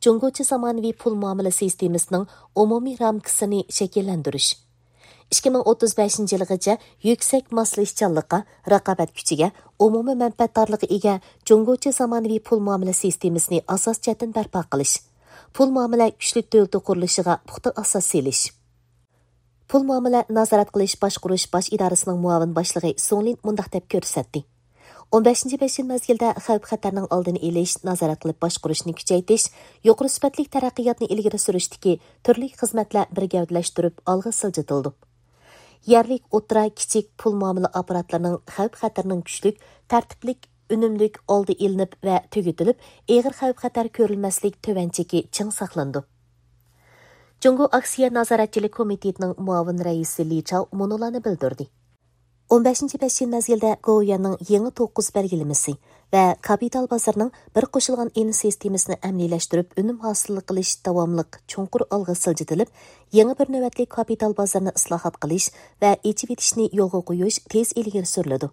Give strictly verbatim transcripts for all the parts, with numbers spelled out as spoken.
جۇڭگوچە زامانىۋى پۇل مۇئامىلە سىستېمىسىنىڭ ئومۇمىي رامكىسىنى شەكىللەندۈرۈش. ئىككى مىڭ ئوتتۇز بەشىنچى يىلغىچە يۈكسەك ماسلىشىشچانلىققا، رىقابەت كۈچىگە، ئومۇمىي مەنپەئەتدارلىققا ئىگە جۇڭگوچە زامانىۋى پۇل مۇئامىلە سىستېمىسىنى ئاساسىي جەھەتتىن بەرپا قىلىش، پۇل مۇئامىلە كۈچلۈك دۆلىتى قۇرۇلۇشىغا پۇختا ئاساس سېلىش. پۇل مۇئامىلە نازارەت قىلىش باشقۇرۇش باش ئىدارىسىنىڭ مۇئاۋىن باشلىقى سۇڭ لىن مۇنداق دەپ كۆرسەتتى: ئون بەشىنچى بەش يىل مەزگىلدە خەۋپ-خەتەرنىڭ ئالدىنى ئېلىش، نازارەت قىلىپ باشقۇرۇشنى كۈچەيتىش، يۇقىرى سۈپەتلىك تەرەققىياتنى ئىلگىرى سۈرۈشتىكى تۈرلۈك خىزمەتلەر بىر گەۋدىلەشتۈرۈپ ئالغا سىلجىتىلىدۇ. يەرلىك، ئوتتۇرا، كىچىك پۇل مۇئامىلە ئاپپاراتلىرىنىڭ خەۋپ-خەتىرىنىڭ كۈچلۈك، تەرتىپلىك، ئۈنۈملۈك ئالدى ئېلىنىپ ۋە تۈگىتىلىپ، ئېغىر خەۋپ-خەتەر كۆرۈلمەسلىك تۆۋەن چېكى چىڭ ساقلىنىدۇ. جۇڭگو ئاكسىيە نازارەتچىلىك كومىتېتىنىڭ مۇئاۋىن رەئىسى لى چاۋ مۇنۇلارنى بىلدۈردى: ئون بەشىنچى بەش يىل مەزگىلدە گوۋۇيۈەننىڭ يېڭى توققۇز بەلگىلىمىسى ۋە كاپىتال بازىرىنىڭ بىر قوشۇلغان ئېن سىستېمىسىنى ئەمەلىيلەشتۈرۈپ، ئۈنۈم ھاسىل قىلىش داۋاملىق چوڭقۇر ئالغا سىلجىتىلىپ، يېڭى بىر نۆۋەتلىك كاپىتال بازىرىنى ئىسلاھات قىلىش ۋە ئېچىۋېتىشنى يولغا قويۇش تېز ئىلگىرى سۈرۈلىدۇ.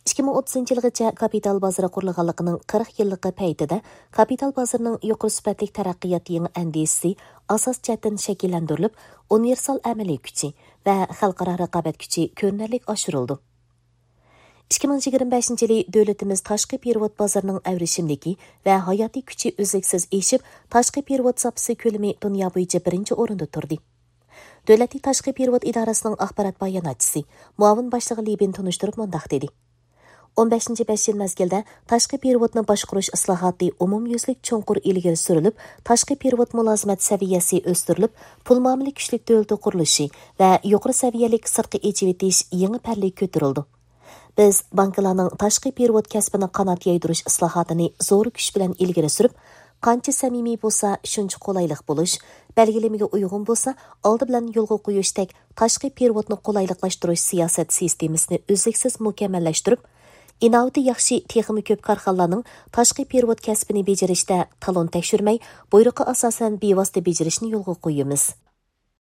ئىككى مىڭ ئوتتۇزىنچى يىلغىچە كاپىتال بازىرى قۇرۇلغانلىقىنىڭ قىرىق يىللىقى پەيتىدە كاپىتال بازىرىنىڭ يۇقىرى سۈپەتلىك تەرەققىيات يېڭى ئەندىزىسى ئاساس جەھەتتىن شەكىللەندۈرۈلۈپ، ئۇنىۋېرسال ئەمەلىي كۈچى ۋە خەلقئارا رىقابەت كۈچى كۆرۈنەرلىك ئاشۇرۇلىدۇ. ئىككى مىڭ يىگىرمە بەشىنچى يىلى دۆلىتىمىز تاشقى پېرېۋوت بازىرىنىڭ ئەۋرىشىملىكى ۋە ھاياتىي كۈچى ئۈزلۈكسىز ئېشىپ، تاشقى پېرېۋوت زاپىسى كۆلىمى دۇنيا بويىچە بىرىنچى ئورۇندا تۇردى. دۆلەتلىك تاشقى پېرېۋوت ئىدارىسىنىڭ ئاخبارات باياناتچىسى، مۇئاۋىن باشلىقى لى بىن تونۇشتۇرۇپ مۇنداق دېدى: ئون بەشىنچى بەش يىل مەزگىلدە تاشقى پېرېۋوتنى باشقۇرۇش ئىسلاھاتى ئومۇميۈزلۈك چوڭقۇر ئىلگىرى سۈرۈلۈپ، تاشقى پېرېۋوت مۇلازىمەت سەۋىيەسى ئۆستۈرۈلۈپ، پۇل مۇئامىلە كۈچلۈك دۆلىتى قۇرۇلۇشى ۋە يۇقىرى سەۋىيەلىك سىرتقا ئېچىۋېتىش يېڭى پەللىگە كۆتۈرۈلدى. بىز بانكىلارنىڭ تاشقى پېرېۋوت كەسپىنى قانات يايدۇرۇش ئىسلاھاتىنى زور كۈچ بىلەن ئىلگىرى سۈرۈپ، قانچە سەمىمىي بولسا، شۇنچە قولايلىق بولۇش، بەلگىلىمىگە ئۇيغۇن بولسا، ئالدى بىلەن يولغا قويۇشتەك تاشقى پېرېۋوتنى قولايلىقلاشتۇرۇش سىياسەت سىستېمىسىنى ئۈزلۈكسىز مۇكەممەللەشتۈرۈپ، ئىناۋىتى ياخشى تېخىمۇ كۆپ كارخانىلارنىڭ تاشقى پېرېۋوت كەسپىنى بېجىرىشتە تالون تەكشۈرمەي، بۇيرۇققا ئاساسەن بىۋاسىتە بېجىرىشنى يولغا قويىمىز.